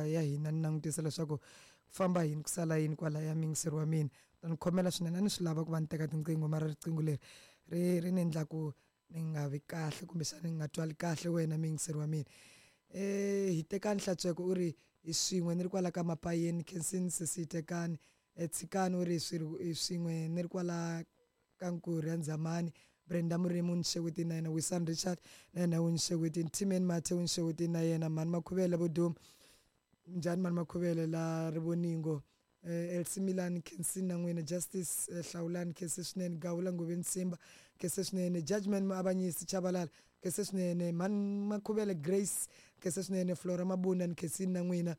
ya hina ni langutisa leswaku ku famba yini ku sala yini kwalaya muyingiseri wa mina. Ta ni khomela swinene, a ni swi lava ku va ni teka tinqingho mara riqingho leri ri ri ni endla ku ni nga vi kahle kumbexana ni nga twali kahle wena muyingiseri wa mina. Hitekani Hlatshweko u ri hi swin'we ni ri kwala ka Mapayeni, Khensini sesi Hitekani. Tshikani u ri hi swin'we ni ri kwala ka Nkurhi ya Ndzamani. Brenda Murimi u ni xewetini na yena, Wisani Richard na yena u ni xewetini, Timen Mathe u ni xewetini na yena, Mhani Makhuvele Vo Duma, njhani Mhani Makhuvele la Rivoningo, Elsie Milani Khensini na n'wina, Justice Hlawulani khense swinene, Gawula Ngoveni Simba khense swinene, Judgment Muavanyisi Chabalala khense swinene, Mhani Makhuvele Grace khense swinene, Flora Mabunda ni khensini na n'wina,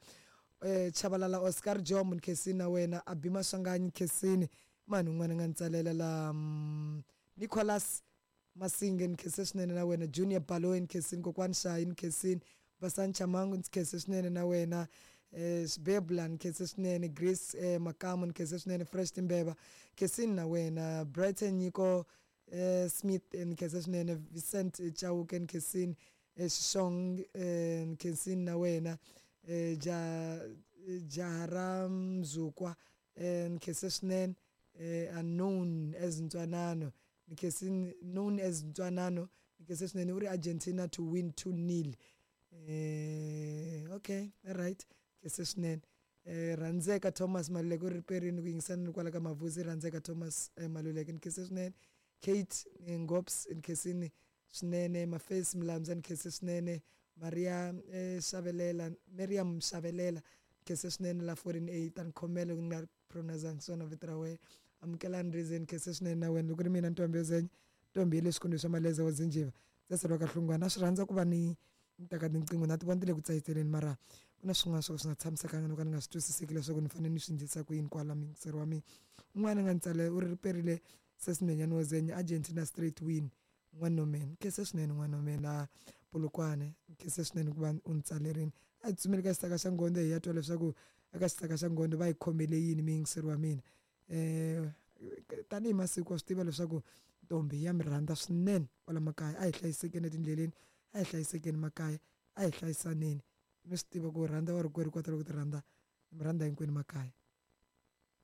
Chabalala Oscar Jombo ni khensini na wena, Abi Maswanganyi khensini, mani un'wana a nga ni tsalela la Nicholas Masinge ni khense swinene na wena, Junior Baloyi ni khensini, Kokwani Shayi ni khensini, Basani Chamangu ni khense swinene na wena, Xibebula ni khense swinene, Grace Makamu ni khense swinene, Fresh Timbeva khensini na wena, Brighton Nyiko Smith ni khense swinene, Vincent Chauke ni khensini, Xixong ni khensini na wena, ja jaha ra Mzukwa ni khense swinene, unknown as Ntwanano ni khensini, known as Ntwanano ni khense swinene, u ri Argentina to win 2-0. Okay, right, khense swinene. Rhandzeka Thomas Maluleke u ri riperini ku yingisana ni kwala ka Mavuzi, Rhandzeka Thomas Maluleke ni khense swinene, Kate Ngops ni khensini swinene, Mafesi Mlamza ni khense swinene, Maria Xavelela, Miriam Xavelela ni khense swinene la 14A ta ni khomela ku nga pronounce swona vito ra wena, Amukelani Reason ni khense swinene na wena, loko ri mina Ntombi yo Zenya, Ntombi ya le swikolweni swa Maleza wa Zinjiva, ndza sala ka Hlungwana, a swi rhandza ku va ni ni teka tinqingho na ti vona ti le ku tsayiteleni mara ku na swin'wana swo ka swi nga tshamisekanga no ka ni nga swi twisiseki leswaku ni fanele ni swi endlisa ku yini kwala muyingiseri wa mina. Un'wana a nga ni tsalela u ri riperile sesi nhwenyani wo Zenya, Argentina straight win N'wanomeni, khense swinene N'wanomeni la Polokwane, khense swinene ku va u ni tsalerini. A hi tsutsumeli ka xisaka xa Nghondo hi ya twa leswaku eka xisaka xa Nghondo va hi khomele yini muyingiseri wa mina. Tanihi masiku wa swi tiva leswaku ntombi ya mi rhandza swinene kwala makaya, a hi hlayisekeni etindleleni, a hi hlayisekeni makaya, a hi hlayisaneni. Mi swi tiva ku rhandza wa rikwerhu kota loko ti rhandza, mi rhandza hinkwenu makaya.